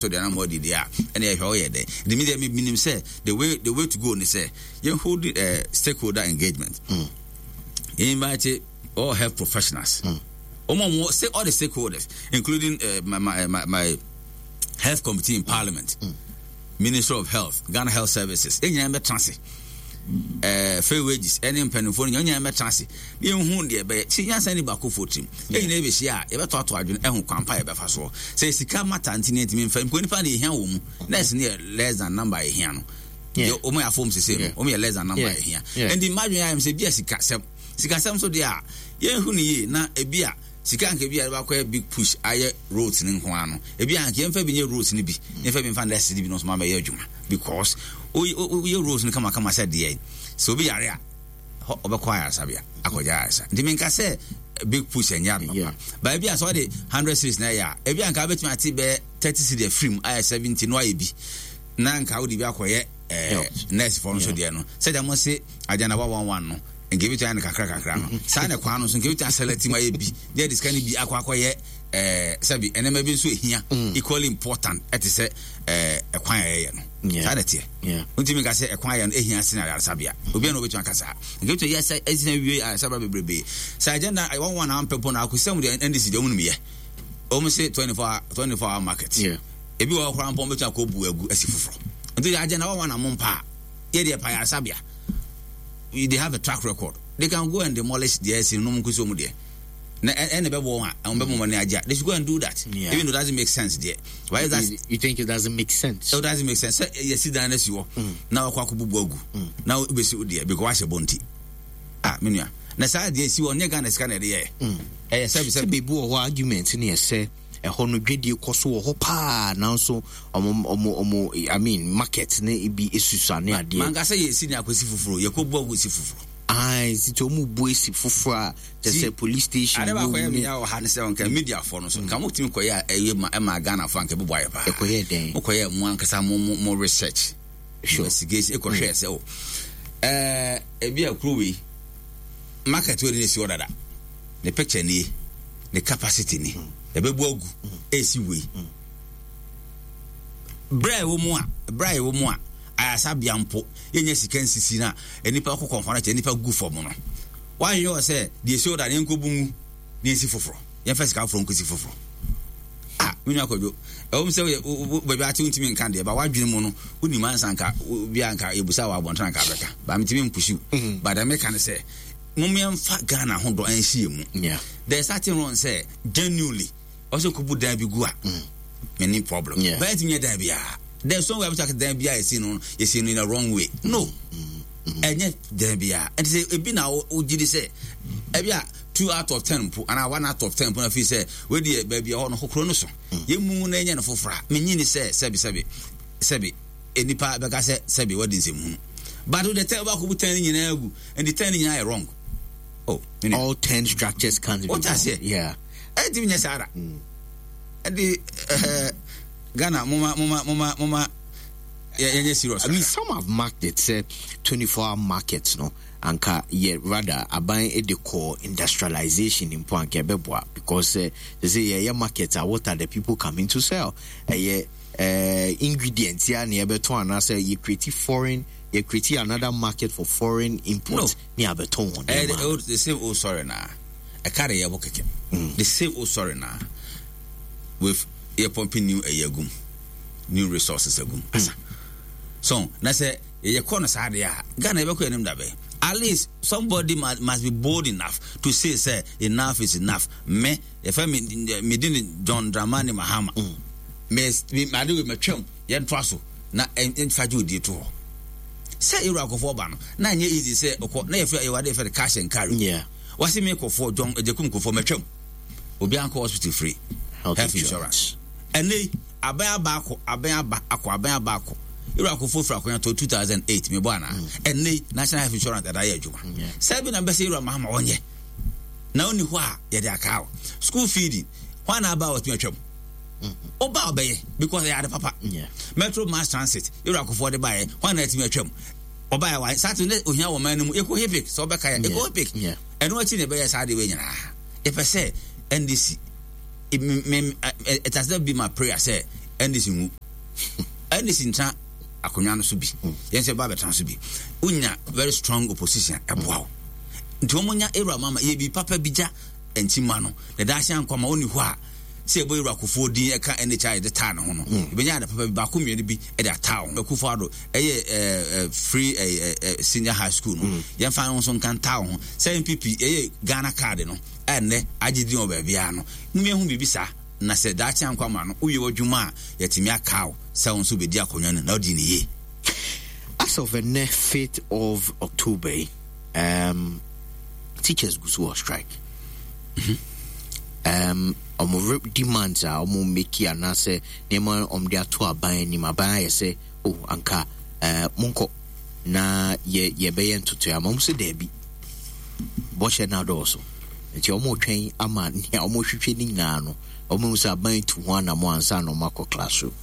So deɛ na mo adi deɛ a ɛna yɛhwɛ woyɛ dɛn nti me deɛ me menim sɛ the way the way to go ne sɛ yɛn hold stakeholder engagement yɛn invite all health professionals wɔn a wɔn say all the stakeholders including my, my, my, my health committee in parliament ministry of health Ghana Health Services yɛn nyinaa bɛtena ase fair wages ɛne mpanimfoɔ no nyinaa bɛtena ase na yɛnhu deɛ ɛbɛyɛ sɛ nyansa ni baakofoɔ tirim yɛn nyinaa yɛbɛhyia a yɛbɛtoatoa adwene ɛho kwan pa yɛbɛfa soɔ sɛ sika mata nti ne yɛntumi mfa mpo nipa na yɛhia wɔ mu nurse no yɛ less than number a yɛhia no deɛ wɔn yɛ afɔm sese no wɔn yɛ less than number a yɛhia nti mma adwene ayɛ sɛ ebi a sikasɛm sikasɛm so deɛ a yɛnhu ne yie na ebi a sika nka ebi a yɛbɛkɔ yɛ big push ayɛ roads ne nko ara no ebi a nka yɛmfa bi nyɛ roads no bi yɛmfa bi mfa nurse no bi no nso ma bɛyɛ adwuma because woyɛ roads no kamakama sɛ deɛ sɛ obi yare a hɔ ɔbɛkɔ ayaresabea akɔgye ayaresa nti menka sɛ big push ɛnyɛ ade papa baabi a sɛ ɔde 100 series na ɛyɛ a ebi anka wobɛtumi ate bɛyɛ 30 series afiri mu ayɛ 70 na wayɛ bi na nka wode bi akɔyɛ eh, nurse fɔ no so deɛ no sɛdeɛ mo se agyana 111 no nka ebi tumi ayɛ no kakra kakra no saa na kwan no so nka ebi tumi asɛlɛti mu ayɛ bi na yɛde sika no bi akɔ akɔyɛ ɛɛ sɛbi nneɛma bi nso ehia equally important ɛte sɛ ɛɛ ɛkwan a yɛyɛ no saa na ɛteɛ ntumi nka sɛ ɛkwan ayɛ no ehia sen ayaresabea obiara na obetumi aka saa nka ebitumi yɛ sɛ ɛsɛn wie ayaresabea bebrebe sɛ agenda wɔn wɔn a wɔn pɛ na akosɛm deɛ ndc deɛ wɔn nim yɛ wɔn se 24 24 hour market ebi wɔ hɔ koraa mpɔn betumi akɔ bu agu asi foforɔ nti agenda wɔn wɔn a mo mpa yɛ deɛ pa ayaresabea they have a track record they can go and demolish deɛ ɛsi no nom nkosi wɔn deɛ na ɛna ɛbɛbɔ wɔn a wɔn bɛbɔ wɔn ani agye a they should go and do that yeah. Even though it doesn't make sense deɛ why is that you, you think it doesn't make sense? It doesn't make sense sɛ yɛsi dan no si hɔ na wakɔ akɔ bubu agu na wobɛsi wo deɛ because wahyɛ bɔ nti ah me nua na saa deɛ si hɔ nyɛ Ghana sika na ɛde yɛ ɛyɛ sɛbi sɛ baabi wɔ hɔ argument ne ɛsɛ ɛhɔ no dwadie kɔ so wɔ hɔ paa nanso ɔmo ɔmo ɔmo I mean market ne ebi esusua ne adeɛ. Manka sɛ yɛsi ne akɔsi foforɔ yɛkɔ bu agu si foforɔ. Ayi titi ɔmo bu esi foforɔ a kyɛ sɛ police station ade baako yɛ meya wɔ ha ne sɛ nka media fo no so nka motumi kɔyɛ a ɛyɛ ma ɛma Ghana fo anka ɛbɛbɔ ayɛ paa. Ɛkɔyɛ dɛn? Mokɔyɛ mo ankasa mo mo mo research investigation ɛkɔhwɛ sɛ o ɛɛ ebi a kuro wei market wei ne si hɔ dada ne picture nie ne capacity ni ɛbɛbu agu ɛsi wei berɛ a ɛwɔ mu a berɛ a ɛwɔ mu a ayasabea mpo yɛnyɛ sika nsisi no a nnipa kɔ kɔnfa no kyɛ nnipa gu fam no wanyɛ wɔ sɛ deɛ ɛsi hɔ da no yɛnkɔbu ngu na yɛnsi foforɔ yɛmfa sika foforɔ nkɔsi foforɔ ah me nua kwadwo ɛwɔ mu sɛ baabi ate wontumi nka deɛ ba woadwene mu no wonim ansa nka bia nka yɛbusa wɔ abɔntene anka bɛka ba metumi mpusiw mm. but meka ne sɛ momeɛmfa Ghana ho dɔ ɛnhye yɛ mu there's nothing wrong sɛ genuinely ɔsɛ kɔbu dan bi gu a mm. many problem yeah. but ɛntumi nyɛ dan biara there's no way abɛtɔ dan biara yɛsi no yɛsi no in a wrong way no ɛnyɛ dan biara ɛnti sɛ ebi na wogye di sɛ ebi a 2 out of 10 mpo anaa 1 out of 10 mpo na fi sɛ wei deɛ baabi a hɔ no kokoro no so yɛmu na ɛnyɛ no foforɔ a menyi ni sɛ sɛbi sɛbi sɛbi nipa bɛka sɛ sɛbi wadi nsɛmhunu but wode 10 wobɛkɔbu 10 no nyinaa agu ɛnti 10 no nyinaa yɛ wrong. Oh, all 10 structures can't be wrong. Yeah. Ɛntumi nyɛ saa da. Ɛde ɛɛ Ghana moma moma moma moma yɛnyɛ serious. I mean, some have marked it sɛ 24 hour market no anka yɛ rather aban de kɔ industrialization mpo anka ɛbɛboa because sɛ sɛ yɛyɛ market a, what are the people coming to sell? Ɛyɛ ingredient ya na yɛbɛtɔn anaasɛ yɛ create foreign yɛ create another market for foreign import ne abɛtɔn wɔn nneɛma. Ɛyɛ the same old story na ɛka de yɛ bɔ kɛkɛ. The same old story na with yɛ pumping new ɛyɛ agum new resources agum asa. So na sɛ yɛ kɔ no saa deɛ a Ghana yɛbɛkɔ anim dabɛ. At least somebody must be bold enough to say sɛ enough is enough. Me yɛfɛ me me di ne John Dramani Mahama. Me me ade wei matwam yɛntoa so na ɛnfa gye odie to hɔ. Sɛ yɛwura akɔfoɔ ba no na nyɛ easy sɛ ɔkɔ na yɛfɛ yɛwɔ ade yɛfɛ no cash and carry. Wasi me kɔfoɔ John Ejekum kɔfoɔ matwam. Obi ankɔ hospital free. Health insurance. Ɛnɛ yi aban aba akɔ aban aba akɔ aban aba akɔ. Yɛwura akɔfoɔ firi akɔnya to 2008 mebɔ anaa. Ɛnɛ yi national health insurance dada yɛ adwuma. Sɛ bi na mbɛsɛ yɛwura Mahama ɔnyɛ. Na ɔni hɔ a yɛde aka o. School feeding hwan na aba a wɔtumi atwam. Ɔba a ɔbɛyɛ because ɛyɛ ade papa. Metro mass transit yɛwura akɔfoɔ de baeɛ hwan na atumi atwam. Ɔbaeɛ wa saa te ne ohia wɔ man no mu ɛkɔ hipik sɛ ɔbɛka yɛ ɛkɔ hipik. Ɛno akyi na ɛbɛyɛ saa de wei nyinaa. Yɛpɛ sɛ NDC me, me, it has never been my prayer sɛ NDC nwu. NDC ntra akonnwa no so bi. Yɛn nso yɛba abɛtena so bi. Wonya very strong opposition a, ɛboa wo. Nti wɔn nya Ewura Mama yɛ bi papa bi gya nkyima no. Na daakye ankɔ ama ɔni hɔ a sɛ yɛbɔ Ewura Kufuor din ɛka NHI de taa ne ho no. Ebenya ade papa bi baako mmienu bi de ataa ho. Akufo Addo ɛyɛ ɛɛ free ɛɛ ɛɛ senior high school no. Yɛmfa ho nso nka ntaa ho. Sɛ NPP ɛyɛ Ghana card no a ɛnnɛ agye din wɔ baabiara no. Mom yɛnhu biribi saa. Na sɛ daakye ankɔ ama no, wowie w'adwuma a, yɛatumi akaa wo sɛ wo nso wobɛdi akonnwa no na wodi no yie. As of ɛnnɛ fifth of October yi, um, teachers gu so wɔ strike. Um, wɔn demands a wɔn make anaasɛ nneɛma wɔn de ato aban anim, aban ayɛ sɛ, oh, anka uh, monkɔ na yɛ yɛbɛyɛ ntotoe ama wɔn sɛ daabi. Bɔhyɛ no adɔɔso. Nti wɔretwɛn ama nea wɔrehwehwɛ no nyinaa no, wɔahu sɛ aban tu ho anammɔn ansa na wɔakɔ classroom.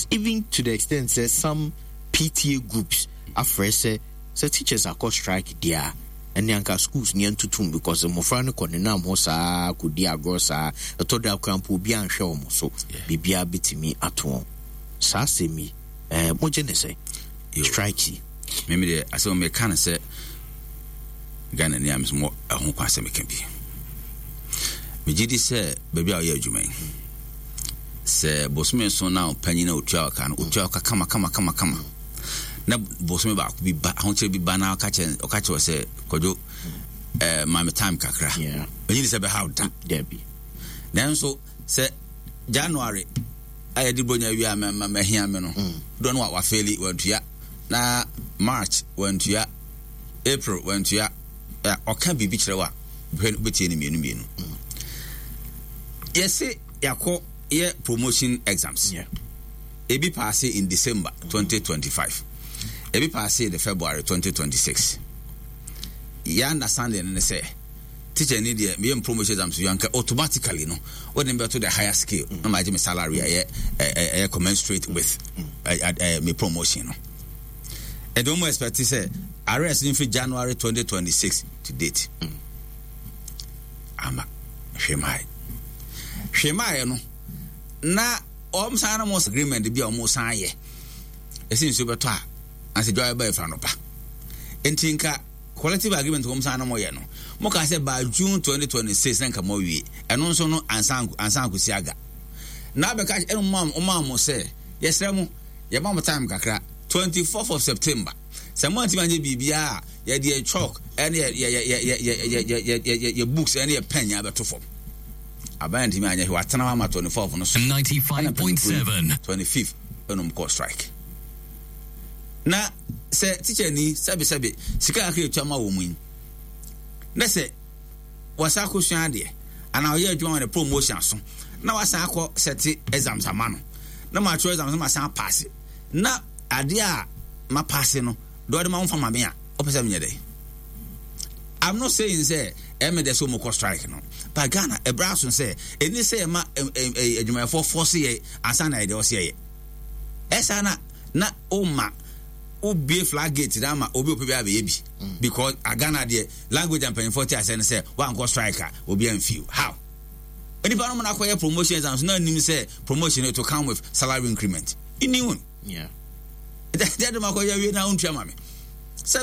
Even to the extent sɛ some PTA groups afrɛ sɛ sɛ teachers akɔ strike deɛ a, ɛnne anka schools no yɛntotom because mmɔfra no kɔ nenam hɔ saa kɔdi agorɔ saa, ɛtɔ da koraa mpo obiara nhwɛ wɔn so, biribiara bɛtumi ato wɔn. Saa asɛm yi, eh, mogye ne sɛn? Strike yi. Meme deɛ asɛm meka no sɛ Ghana ni a mesɛ mɔ ɛho kwan sɛ meka bi. Megye di sɛ baabi a ɔyɛ adwuma yi, sɛ bosome so na ɔpanyin a ɔtua ɔka no, ɔtua ɔka kama kama kama kama. Na bosome baako bi ba, ahokyerɛ bi ba na ɔka kyerɛ ɔka kyerɛ sɛ Kwadwo ɛɛ ma me time kakra. Ɛnyi ni sɛ bɛhaw da. Dabi. Nanso sɛ January a yɛde bronya wie a mahia me no, mm. doɔ no wafeeli wantua na March wantua April wantua ɔka biribi kyerɛ wo a hwɛ no wobɛtie no mmienu mmienu. Mm. Yɛse yɛakɔ yɛ promotion exams. Yeah. Ebi paase in December 2025. Ebi paase the February 2026. Yɛ understanding ne sɛ teacher ni deɛ meyɛ promotion exams so anka automatically no wode me bɛto the higher scale na magye me salary a ɛyɛ ɛyɛ commensurate with me promotion no. Ɛde wɔn expect sɛ arrest no mfiri January 2026 to date. Ama hwɛ maae. Hwɛ maae no na wɔn san no mo agreement bi a wɔn san yɛ. Ɛsɛ nsuo bɛtɔ a asɛ dwa bɛba efra no pa. Nti nka collective agreement wɔn san no mo yɛ no. Mo ka sɛ by June 2026 na nka mo awie. Ɛno nso no ansa ansa akosi aga. Na abɛka ɛno mo mo mo sɛ yɛsrɛ mo Yɛma mo time kakra, 24th of September. Sɛ moantumi anyɛ biribiara a, yɛde yɛn chalk ne yɛ yɛ yɛ yɛ yɛ yɛ yɛ yɛ yɛ yɛ books ne yɛ pen nyinaa bɛto fam. Aban antumi anyɛ hwee, watena hɔ ama 24th no so. Ɛna mpanyinfoɔ yi 25th ɛna wɔn kɔɔ strike. Na sɛ teacher ni sɛbesɛbe sika kakra etua ma wɔn yi, na sɛ wasan akɔsua adeɛ anaa ɔyɛ adwuma ma ne promotion aso na wasan akɔ sɛte exams ama no na matwerɛ exams na masan apaase na adeɛ a mapaase no deɛ ɔde ma wo mfa ma me a wopɛ sɛ menyɛ dɛn? I'm not saying sɛ ɛmɛ dɛ sɛ wɔn kɔ strike no but Ghana ɛbrɛ aso sɛ ɛni sɛ ɛma adwumayɛfoɔ fɔse yɛ ansa na yɛde ɔse yɛ ɛsa na na ɔma wobie flag gate na ama obi ope bi abɛyɛ bi mm. because Ghana deɛ language a mpanyinfoɔ te aseɛ ne sɛ wankɔ strike a obi amfi how nipa no mu na akɔyɛ promotion exams na anim sɛ promotion it will come with salary increment you knew yeah dɛ dɛ ma akɔyɛ awie na wontua ma me.